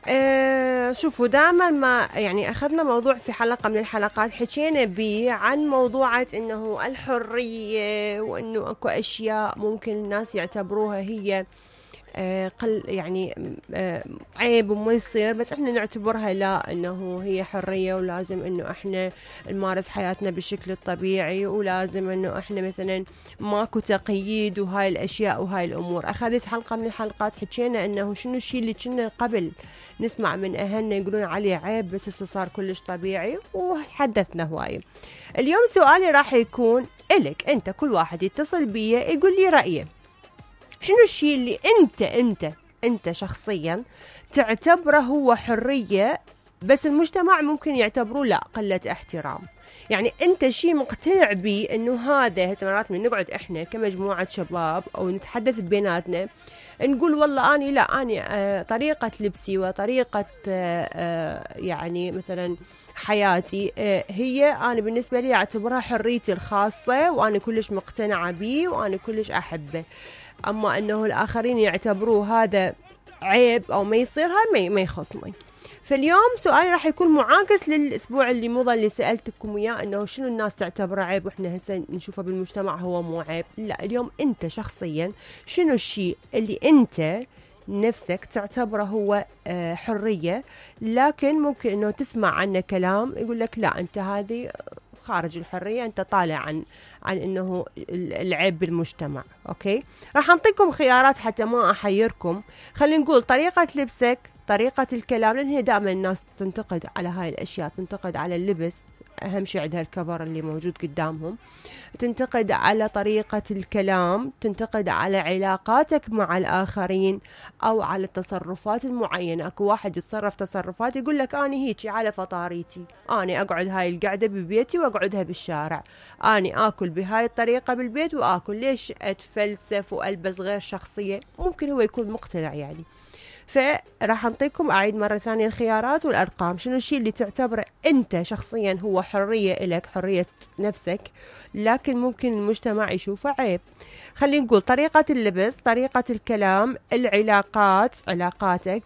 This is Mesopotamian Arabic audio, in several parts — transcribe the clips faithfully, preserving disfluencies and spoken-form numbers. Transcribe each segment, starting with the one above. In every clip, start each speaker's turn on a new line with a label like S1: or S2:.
S1: أه شوفوا دائما ما يعني أخذنا موضوع في حلقة من الحلقات حكينا به عن موضوعة إنه الحرية، وإنه أكو أشياء ممكن الناس يعتبروها هي أه قل يعني أه عيب وما يصير، بس إحنا نعتبرها لا، إنه هي حرية ولازم إنه إحنا نمارس حياتنا بالشكل الطبيعي، ولازم إنه إحنا مثلا ماكو تقييد وهاي الأشياء وهاي الأمور. أخذت حلقة من الحلقات حكينا إنه شنو الشيء اللي كنا قبل نسمع من أهلنا يقولون عليه عيب بس هسه صار كلش طبيعي، وحدثنا هواي. اليوم سؤالي راح يكون إلك أنت، كل واحد يتصل بيه يقول لي رأيه، شنو الشيء اللي أنت أنت أنت شخصيا تعتبره هو حرية بس المجتمع ممكن يعتبروه لا، قلة احترام. يعني أنت شيء مقتنع بيه إنه هذا، هسه مرات من نقعد إحنا كمجموعة شباب أو نتحدث بيناتنا نقول والله أني لا، أني آه طريقة لبسي وطريقة آه آه يعني مثلا حياتي آه هي أنا بالنسبة لي أعتبرها حريتي الخاصة، وأنا كلش مقتنعة بيه وأنا كلش أحبه. أما أنه الآخرين يعتبروه هذا عيب أو ما يصير، هاي ما يخصني. فاليوم سؤالي راح يكون معاكس للأسبوع اللي مضى اللي سألتكم إياه، إنه شنو الناس تعتبره عيب وإحنا هسه نشوفه بالمجتمع هو مو عيب. لا، اليوم أنت شخصيا شنو الشيء اللي أنت نفسك تعتبره هو آه حرية، لكن ممكن إنه تسمع عنه كلام يقول لك لا أنت هذه خارج الحرية، أنت طالع عن عن إنه العيب بالمجتمع. أوكي، راح أعطيكم خيارات حتى ما أحيركم. خلينا نقول طريقة لبسك، طريقة الكلام، لأن هي دائما الناس تنتقد على هاي الأشياء، تنتقد على اللبس، أهم شيء عندها الكفر اللي موجود قدامهم، تنتقد على طريقة الكلام، تنتقد على علاقاتك مع الآخرين أو على التصرفات المعينة. أكو واحد يتصرف تصرفات يقول لك أنا هيك على فطاريتي، أنا أقعد هاي القعدة ببيتي وأقعدها بالشارع، أنا آكل بهاي الطريقة بالبيت وآكل، ليش أتفلسف وألبس غير شخصية؟ ممكن هو يكون مقتنع يعني. فراح أعطيكم أعيد مرة ثانية الخيارات والأرقام. شنو الشيء اللي تعتبره أنت شخصيا هو حرية إلك، حرية نفسك، لكن ممكن المجتمع يشوفه عيب؟ خلينا نقول طريقة اللبس، طريقة الكلام، العلاقات، علاقاتك،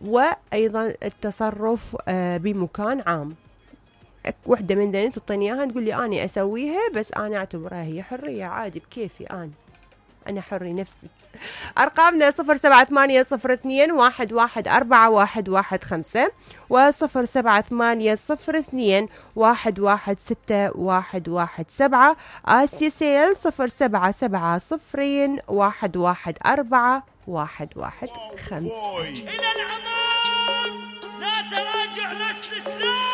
S1: وأيضا التصرف بمكان عام. وحدة من ذنين تعطيني إياها تقول لي أنا أسويها بس أنا أعتبرها هي حرية عادي بكيفي، أنا أنا حري نفسي. أرقامنا صفر سبعة ثمانية صفر اثنين واحد واحد أربعة واحد واحد خمسة وصفر سبعة ثمانية صفر اثنين واحد واحد ستة واحد واحد سبعة. آسيا سيل صفر سبعة سبعة صفرين واحد واحد أربعة واحد واحد خمسة.
S2: إلى الأمام لا تراجع لا استسلام.